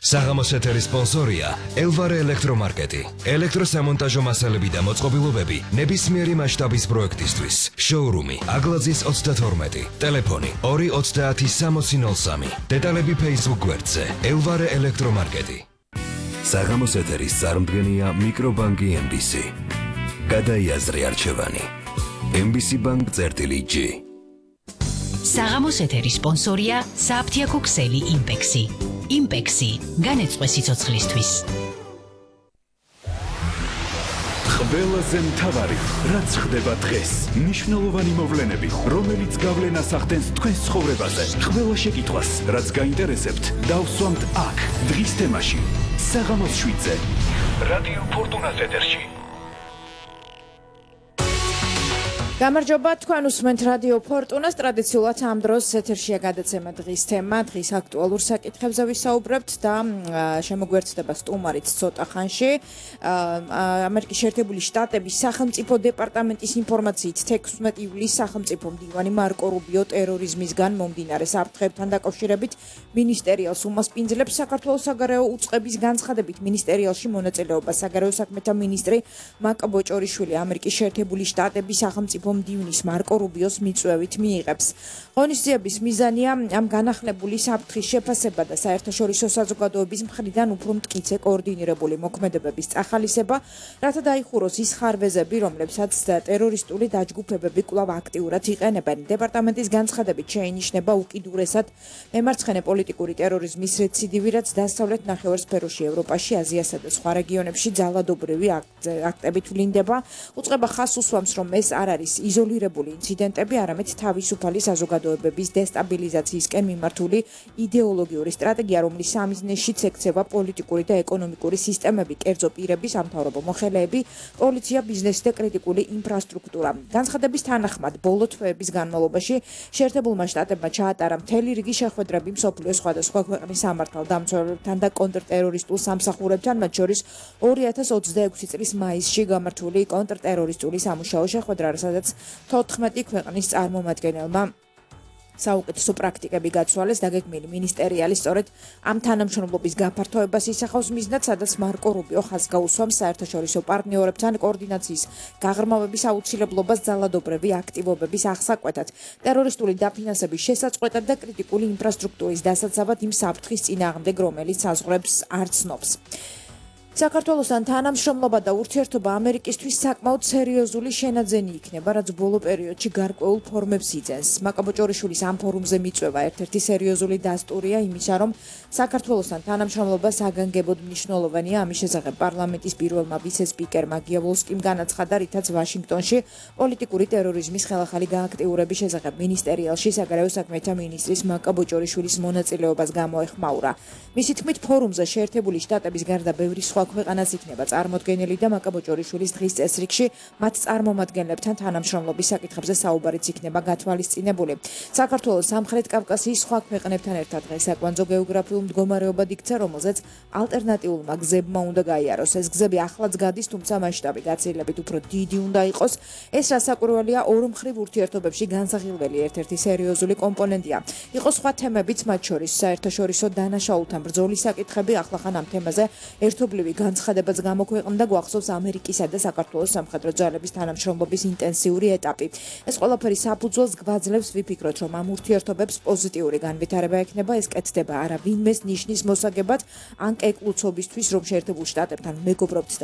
საღამოს ეთერის სპონსორია ელვარე ელექტრომარკეტი. ელექტროსამონტაჟო მასალები და მოწყობილობები ნებისმიერი მასშტაბის პროექტისთვის. შოურუმი აგლაძის 32. ტელეფონი 230-6003. დეტალები Facebook გვერდზე ელვარე ელექტრომარკეტი. საღამოს ეთერის წარმდგენია მიკრობანკი MBC. გადაიაზრე არჩევანი. MBC Bank-G. საღამოს ეთერის სპონსორია საფთიაქო ქსელი იმპექსი. იმპექსი განეწყვე სიცოცხლისთვის. ყველაზე მთავარი, რაც ხდება დღეს, მნიშვნელოვანი მოვლენები, რომელიც გავლენას ახდენს თქვენს ცხოვრებაზე. ყველა შეკითხვას, რაც გაინტერესებთ, დავსვამთ აქ, დღის თემაში. საღამოს 7-ზე. რადიო ფორტუნას ეთერში. გამარჯობა, თქვენ უსმენთ რადიო ფორტუნას. ტრადიციულად ამ დროს ეთერშია გადაცემა დღის თემა, დღის აქტუალურ საკითხებზე ვისაუბრებთ და შემოგვერთდება სტუმარიც ცოტა ხანში. ამერიკის შეერთებული შტატების სახელმწიფო დეპარტამენტის ინფორმაციით 16 ივლისს სახელმწიფო მდივანი მარკო რუბიო ტერორიზმისგან მომდინარე საფრთხეებთან დაკავშირებით მინისტერიალს უმასპინძლებს. საქართველოს საგარეო უწყების განცხადებით მინისტერიალში მონაწილეობა საგარეო საქმეთა მინისტრი მაკა ბოჭორიშვილი ამერიკის შეერთებული შტატების სახელმწიფო მდივნის მარკო რუბიოს მიწვევით მიიღებს. ღონისძიების მიზანია ამ განახლებული საფრთხის შეფასება და საერთაშორისო საზოგადოების მხრიდან უფრო მტკიცე კოორდინირებული მოქმედებების წახალისება, რათა დაიხუროს ის ხარვეზები, რომლებსაც ტერორისტული დაჯგუფებები კვლავ აქტიურად იყენებენ. დეპარტამენტის განცხადებით შეინიშნება უკიდურესად მემარცხენე პოლიტიკური ტერორიზმის რეციდივი, რაც დასავლეთ ნახევარსფეროში, ევროპაში, აზიასა და სხვა რეგიონებში ძალადობრივი აქტებით ვლინდება. უწყება ხაზს უსვამს, რომ ეს არ არის იზოლირებული ინციდენტები, არამედ თავისუფალი საზოგადოებების დესტაბილიზაციისკენ მიმართული იდეოლოგიური სტრატეგია, რომლის სამიზნეშიც ექცევა პოლიტიკური და ეკონომიკური სისტემები, კერძო პირები, სამთავრობო მოხელეები, პოლიცია, ბიზნესი და კრიტიკული ინფრასტრუქტურა. განცხადების თანახმად, ბოლო თვეების განმავლობაში შეერთებულმა შტატებმა ჩაატარა მთელი რიგი შეხვედრები მსოფლიოს სხვადასხვა ქვეყნის სამართალდამცველებთან და კონტრტერორისტულ სამსახურებთან, მათ შორის 2026 წლის მაისში გამართული კონტრტერორისტული სამუშაო შეხვედრა, სადაც 14 ქვეყნის წარმომადგენელმა საუკეთესო პრაქტიკები გაცვალეს. დაგეგმილი მინისტერიალი სწორედ ამ თანამშრომლობის გაფართოებას ისახავს მიზნად, სადაც მარკო რუბიო ხაზს გაუსვამს საერთაშორისო პარტნიორებთან კოორდინაციის გაღრმავების აუცილებლობას ძალადობრივი აქტივობების აღსაკვეთად, ტერორისტული დაფინანსების შესაწყვეტად და კრიტიკული ინფრასტრუქტურის დასაცავად იმ საფრთხის წინააღმდეგ, რომელიც საზღვრებს არ ცნობს. საქართველოსთან თანამშრომლობა და ურთიერთობა ამერიკისთვის საკმაოდ სერიოზული შენაძენი იქნება, რაც ბოლო პერიოდში გარკვეულ ფორმებს იძენს. მაკა ბოჭორიშვილის ამ ფორუმზე მიწვევა ერთ-ერთი სერიოზული დასტურია იმისა, რომ საქართველოსთან თანამშრომლობა საგანგებოდ მნიშვნელოვანია. ამის შესახებ პარლამენტის პირველმა ვიცე-სპიკერმა გიაბოლსკიმ განაცხადა, რითაც ვაშინგტონში პოლიტიკური ტერორიზმის ხელახალი გააქტიურების შესახებ მინისტერიალში საგარეო საქმეთა მინისტრის მაკა ბოჭორიშვილის მონაწილეობას გამოეხმაურა. მისი თქმით, ფორუმზე შეერთებული შტატების გარდა ბევრი სხვა ქვეყანაც იქნება წარმოდგენილი და მაკა ბოჭორიშვილის დღის წესრიგში მათ წარმომადგენლებთან თანამშრომლობის საკითხებზე საუბარიც იქნება გათვალისწინებული. საქართველოს სამხრეთ კავკასიის სხვა ქვეყნებთან ერთად დღეს აკვანძო გეოგრაფიულ მდგომარეობად იქცა, რომელზეც ალტერნატიულმა გზებმა უნდა გაიაროს. ეს გზები ახლაც გადის, თუმცა მასშტაბი გაცილებით უფრო დიდი უნდა იყოს. ეს რასაკვირველია, ორმხრივ ურთიერთობებში განსახილველი ერთ-ერთი სერიოზული კომპონენტია. იყო სხვა თემებიც, მათ შორის საერთაშორისო დანაშაულთან ბრძოლის საკითხები. ახლახან ამ თემაზე ერთობლივი განცხადებაც გამოქვეყნდა, გვახსოვს ამერიკისა და საქართველოს სამხედრო ძალების თანამშრომლობის ინტენსიური ეტაპი. ეს ყველაფერი საფუძველს გვაძლევს ვიფიქროთ, რომ ამ ურთიერთობებს პოზიტიური განვითარება ექნება. ეს კეთდება არა ვინმეს ნიშნის მოსაგებად, ან კეკლუცობისთვის, რომ შეერთებულ შტატებთან მეგობრობთ და